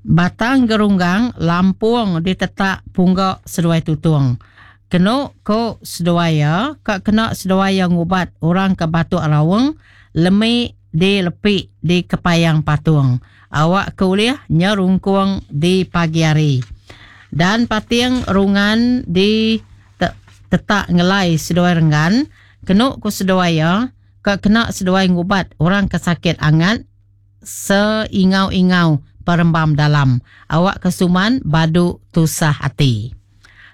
Batang Gerunggang Lampung ditetak Pungga seduai Tutung. Kenu ku seduai iya, ka kena seduai iya ngubat orang ke batuk raung lemi di lepi di kepayang patung. Awak ke ulih nyerungkung di pagi hari. Dan pating rungan di tetak ngelai seduai renggan, kenu ku seduai iya, ka kena seduai ngubat orang ke sakit angat seingau-ingau perembam dalam awak ke suman badu tusah ati.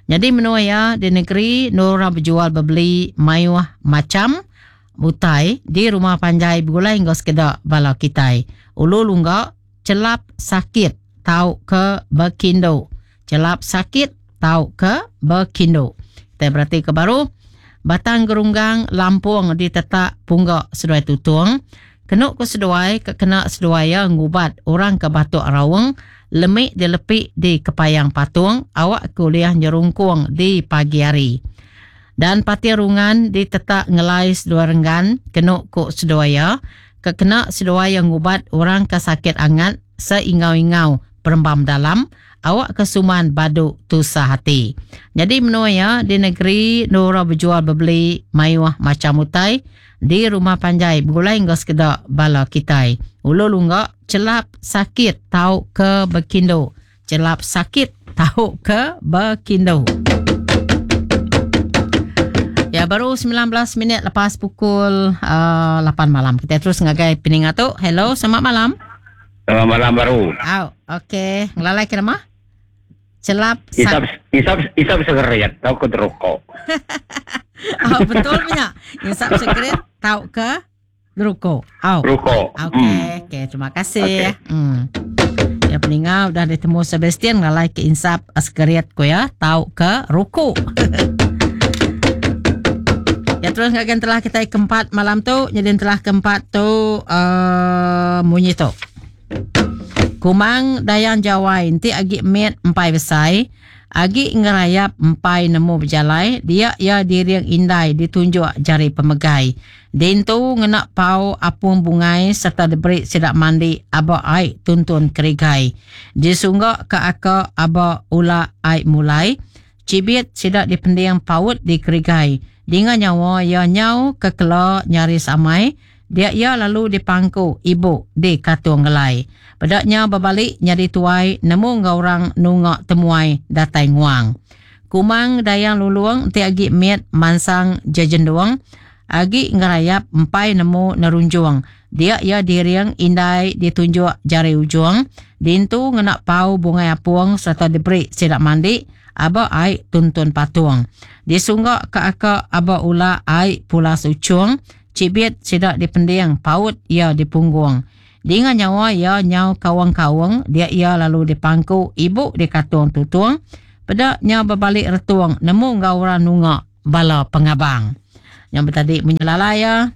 Nyadi menua iya di negeri endur orang bejual bebeli mayuh macham utai di rumah panjai begulai enggau sekeda bala kitai. Ulu lungga chelap sakit tauka bekindu. Chelap sakit tauka bekindu. Kitai beratika baru Batang Gerunggang Lampung ditetak Pungga seduai Tutung. Kenu ku seduai ke kena seduai iya ngubat orang ke batuk raung lemi dilepi di kepayang patung awak ke ulih nyerungkung di pagi hari. Dan pati rungan ditetak ngelai seduai renggan kenu ku seduai iya ke kena seduai iya ngubat orang ke sakit angat seingau-ingau perembam dalam awak ke suman badu tusah ati. Nyadi menua iya di negeri endur orang bejual bebeli mayuh macham utai di rumah panjai begulai enggau sekeda bala kitai. Ulu lungga chelap sakit tauka bekindu. Chelap sakit tauka bekindu. Ya baru 19 minit lepas pukul uh, 8 malam. Kita terus ngagai peninga tu. Hello, selamat malam. Selamat malam baru. Au, okey. Ngelalai ke nama? Celap isap isap isap segerit tau ke rokok. oh, betul punya. Isap segerit tau ke Rukuk. Au. Rukuk. Okey, hmm. okey. Terima kasih. Okay. Hmm. Ya peninga udah ditemu Sebastian ngalai ke insap segerit ku ya, tau ke rukuk. ya terus ngagai telah kita keempat malam tu, jadi telah keempat tu uh, munyi tu. Kumang Dayang Jawai enti agi mit empai besai, agi ngerayap empai nemu bejalai, dia iya diring indai ditunjuk jari pemegai. Dintu ngena pau apung bungai sereta diberi sida mandi aba ai tuntun kerigai. Disungga ka aka aba ula ai mulai, chibit sida dipending paut di kerigai. Dinga nyawa iya nyau kekela nyaris amai, Dia iya lalu dipangku ibu di Katung Ngelai. Peda nya bebali nyadi tuai nemu enggau orang nunga temuai datai nguang. Kumang Dayang Lulung ti agi mit mansang jejendung, agi ngerayap empai nemu nerunjung. Dia iya diring indai ditunjuk jari ujung, dintu ngena pau bungai apung sereta diberi sida mandi aba ai tuntun patung. Disungga ka aka aba ula ai pulas uchung, Chibit sida dipending paut iya dipunggung. Dinga nyawa iya nyau kaung-kaung dia iya lalu dipangku ibu dikatung tutung. Peda nya bebali retung nemu enggau orang nunga bala pengabang. Nya betadi munyi lalai iya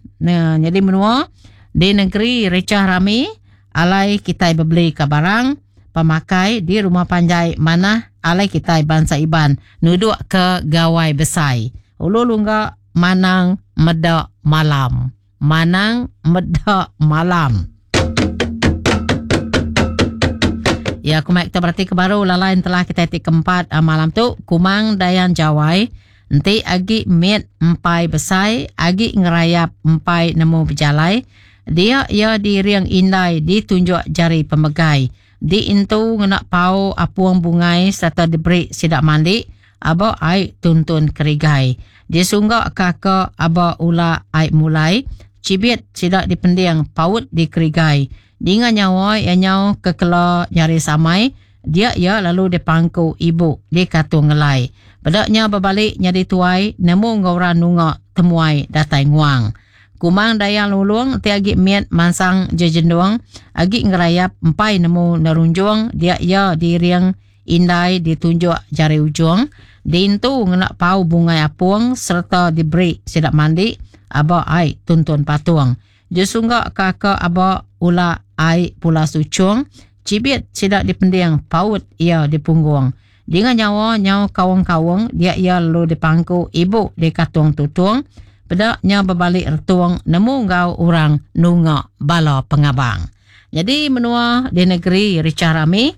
nyadi menua di negeri richah rami alai kitai bebeli ka barang pemakai di rumah panjai manah alai kitai bansa Iban nuduk ke gawai besai. Ulu lungga Manang meda malam. Manang meda malam. Ya, aku mai kita berarti ke baru lalai telah kita ti keempat ah, malam tu Kumang Dayang Jawai enti agi mit empai besai agi ngerayap empai nemu bejalai dia ia diring indai ditunjuk jari pemegai diintu ngena pau apung bungai serta diberi sida mandi Aba ai tuntun kerigai. Disungga ka ka aba ula ai mulai. Chibit sida dipending paut di kerigai. Dinga nyawa iya nyau kekela nyaris amai, dia iya lalu dipangku ibu dikatung ngelai. Peda nya bebali nyadi tuai nemu enggau orang nunga temuai datai nguang. Kumang Dayang Lulung ti agi mit mansang jejendung, agi ngerayap empai nemu nerunjung dia iya diring Indai ditunjuk jari ujung, diintu ngena pau bungai apung sereta diberi sida mandi aba ai tuntun patung. Jesungga ka aka aba ula ai pulas uchung, chibit sida dipending paut iya dipunggung. Dinga nyawa nyau kaung-kaung dia iya lalu dipangku ibu dikatung tutung, peda nya bebali retung nemu enggau orang nunga bala pengabang. Nyadi menua di negeri richah rami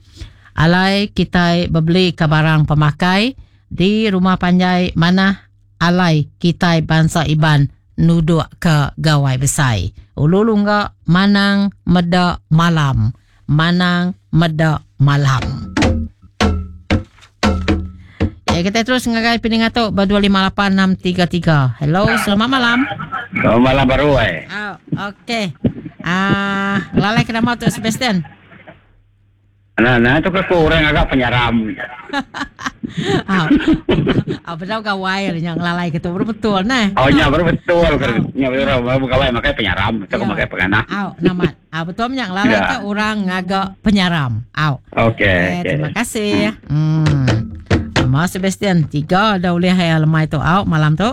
alai kitai bebeli ka barang pemakai di rumah panjai manah alai kitai bansa Iban nuduk ka gawai besai. Ulu lungga manang meda malam. Manang meda malam. Ya, kita terus ngagai peninga tu ba 258633. Hello, selamat malam. Selamat malam baru eh. Oh, okey. Ah, lalai ke nama tu Sebastian? Nah, nah tu ke aku orang agak penyaram. Ah, ah bedau gawai nya ngelalai ke tu baru betul nah. Oh, nya baru betul. Nya baru baru gawai makai penyaram, tu ya. makai penganah. Au, namat. Ah betul nya ngelalai ya. ke orang ngaga penyaram. Au. Okey. Eh, okay. Terima kasih. Hmm. Mas Sebastian, tiga dah ulih hai lemai tu au malam tu.